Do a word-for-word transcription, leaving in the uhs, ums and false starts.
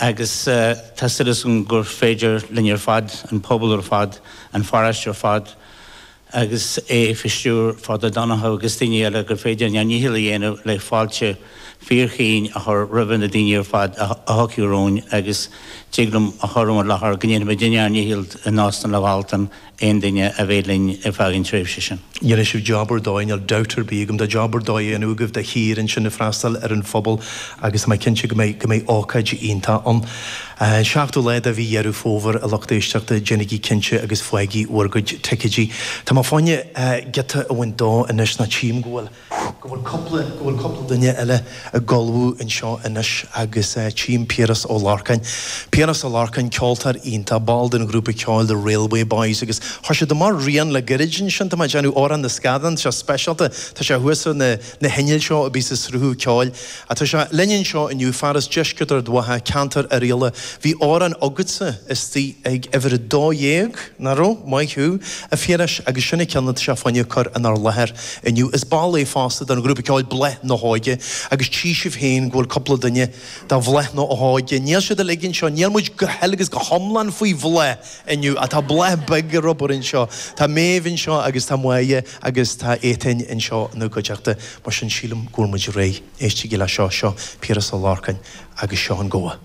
Agus tá súil agam gur féidir linn ar fad, an pobal ar fad, an pharóiste ar fad, agus é faoi stiúir Father Donoghue agus daoine eile gur féidir ár ndícheall a dhéanamh le fáilte fíorchaoin a chur roimhe na daoine ar fad a thiocfaidh romhainn agus tig liom a chur i láthair go ndéanfaimid ár ndícheall in Óstán an Mhartin aon duine a bheidh linn ar feadh an tréimhse sin. Dhéanfaidh sibh job ar dóigh, níl dabht ar bith agam, tá job ar dóigh á dhéanamh agaibh de shíor ansin ag freastal ar an phobal agus tá mé cinnte go mbeidh go mbeidh ócáid iontach ann. An seachtú lá de mhí Dheireadh Fómhair, a lucht éisteachta, déanaigí cinnte agus faighigí bhur gcuid ticéidí. Tá mé fá choinne giota a bhaint dó anois nó tchím go bhfuil go bhfuil cúpla go bhfuil cúpla duine eile ag ullmhú anseo anois agus tchím Piaras Ó Lorcáin. Piaras Ó Lorcáin, ceoltóir iontach, ball den ghrúpa ceoil The Railway Boys agus chuir siad amach rian le gairid ansin, tá mé ag déanamh Amhrán na Scadán, tá sé speisialta, tá sé thuas ar na na hinnill seo a bhí sa sruthú ceoil. Ach tá sé linn anseo inniu, fear as deisceart Ard Mhacha, ceantar Oirialla. Bhí amhrán agatsa istigh ag uimhir a dó dhéag, nach raibh? Maith thú, a Phiarais, agus sin an ceann atá sé fá choinne cur inár láthair inniu. Is ball é fosta den ghrúpa ceoil Bláth na hÓige agus tchí sibh féin go bhfuil cúpla duine de bhláth na hóige. Níl siad uilig anseo, níl muid go huile agus go hiomlán faoi bhláth inniu ach tá bláth beag ar obair anseo. Tá Méabh anseo agus tá Máire agus tá Étain anseo ina gcuideachta. Mar sin sílim go bhfuil muid réidh. Éistigí le seo, seo Piaras Ó Lorcáin agus seo an gabha.